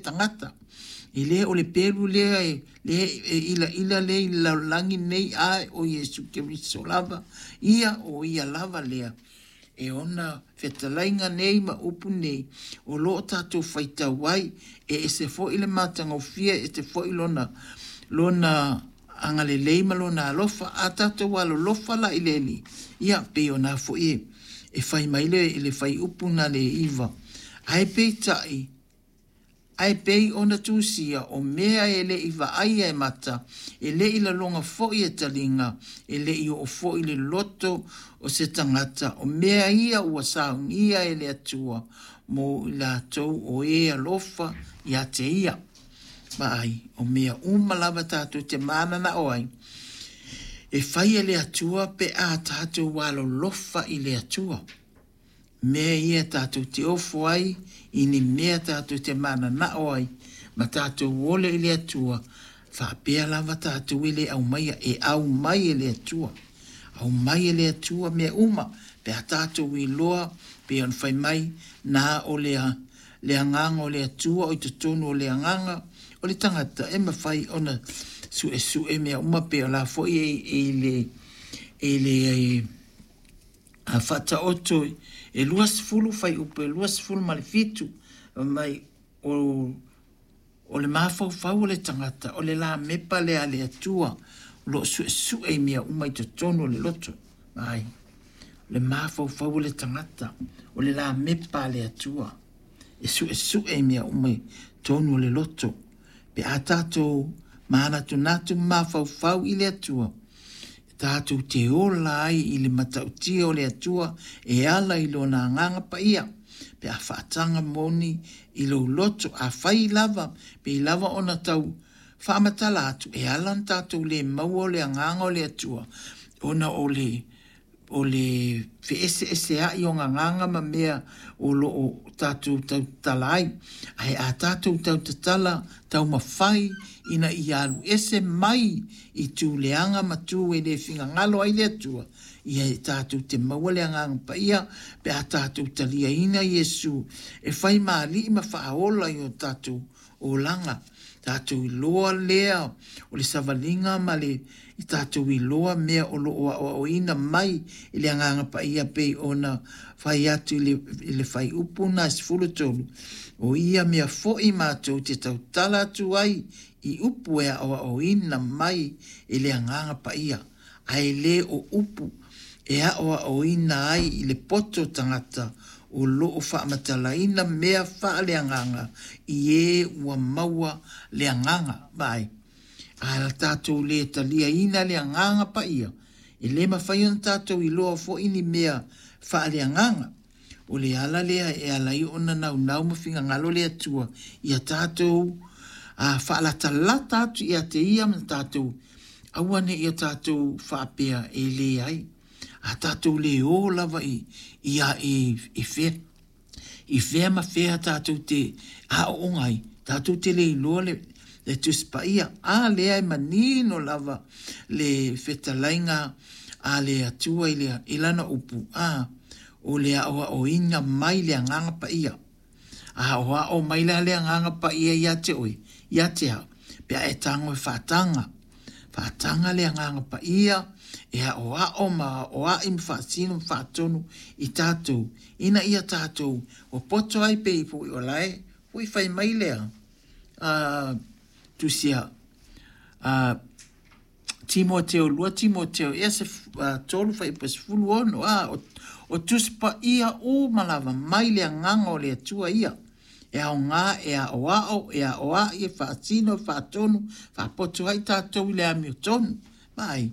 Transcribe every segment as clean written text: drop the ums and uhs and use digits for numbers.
tagata. E le o le pelu lea e, lea e ilaila lea i le lalolagi nei, ae o Iesu Keriso lava ia, o ia lava lea. E ona fetalaiga nei ma upu nei o lo o tatou faitau ai, e ese foi le matagofie, e ese foi lona, lona agalelei ma lona alofa. A tatou alolofa la i le Alii, ia pei ona foi e, e fai mai le, le fuaiupu na le 9. Ae peitai, ae pei ona tusia o mea e le i vaaia e mata, e le i laloga foi e taliga, e le i oo foi le loto o se tagata, o mea ia ua saunia e le Atua mo i latou o e alofa ia te ia. Vaai, o mea uma lava tatou te mananao ai, e fai e le Atua pe a tatou alolofa i le Atua. Mea ia tatou te ofo ai, i ni mea tatou te mananao ai, ma tatou ole i le Atua, faapea lava tatou e le aumaia, e aumai e le Atua. Aumai e le Atua mea uma, pe a tatou iloa, pei ona fai mai, na o le, le agaga o le Atua o i totonu o le agaga o le tagata e mafai ona suesue mea uma pei o la foi e, e le, e le a faataoto e 20 fuaiupu e 27 mai o, o le mafaufau o le tagata o le lamepa lea a le Atua o lo o suesue i mea uma i totonu o le loto. Ai, le mafaufau o le tagata o le lamepa a le Atua e suesue i mea uma i totonu o le loto. Pe a tatou manatunatu ma mafaufau i le Atua, tatou te ola ai i le matautia o le Atua e ala i lona agaga paia, pe a faataga moni i lou loto, afai lava, pei lava ona tau faamatala atu, e ala ona tatou le maua o le agaga o le Atua, ona o le o le feeseesea'i o gagaga ma mea o lo o tatou tautatala ai. Ae a tatou tautatala taumafai ina ia alu ese mai i tu leaga ma tu e le finagalo ai le Atua, ia e tatou te maua le Agaga Paia pe a tatou taliaina Iesu e fai ma Alii ma Faaola i o tatou olaga. Tatou iloa lea o le savaliga ma le i tatou iloa mea o lo o aoaoina mai i le Agaga Paia pei ona fai atu i le, i le fuaiupu na 13, o ia mea foi matou te tautala atu ai i upu e aoaoina mai e le Agaga Paia, ae le o upu e aoaoina ai i le poto tagata o lo o faamatalaina mea faaleagaga i e ua maua le agaga. Vaai, a tatou le taliaina le Agaga Paia, e le mafai ona tatou iloa foi ni mea faaleagaga. O le ala lea e ala ai ona naunau ma finagalo le Atua ia tatou a faalatalata atu ia te ia ma tatou aua ne i o tatou faapea e leai. A tatou le o lava i, i, i, i fea, i fea ma fea tatou te aooga ai, tatou te le iloa le, le Tusi Paia. A lea e manino lava le fetalaiga a le Atua i, le, i lana upu, a o le aoaoina mai le Agaga Paia. A aoao mai la le Agaga Paia ia te oe, ia te au, pe a e tago e faataga. Faataga le Agaga Paia e aoao ma aoai ma faasino ma faatonu i tatou, ina ia tatou popoto ai pei foi o la e foi fai mai lea a tusia a Timoteo 2 Timoteo ia se 3 fuaiupu 16 a o, o Tusi Paia uma lava mai le agaga o le Atua ia e aoga e aoao e aoai e faasino e faatonu faapoto ai tatou i le amiotonu. Vaai,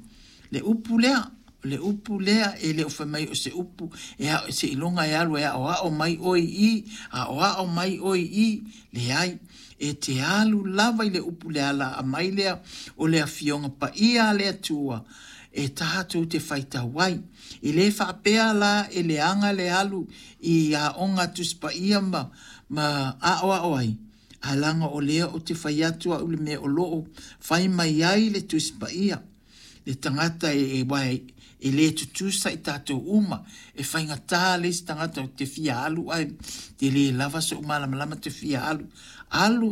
le upu lea, o le upu lea e le o fai mai o se upu e ao, seiloga e alu e aoao mai oe i i, aoao mai oe i i, leai. E te alu lava i le upu le ala a mai lea o le afioga paia a le Atua e tatou te faitau ai. E le faapea la e leaga le alu i aoga Tusi Paia ma, ma aoao ai, ae leaga o lea ou te fai atu au le mea o lo o fai mai ai le Tusi Paia. Le tagata e, e, e le tutusa i tatou uma. E faigata le isi tagata ou te fia alu ae te le lava so'u malamalama te fia alu. Alu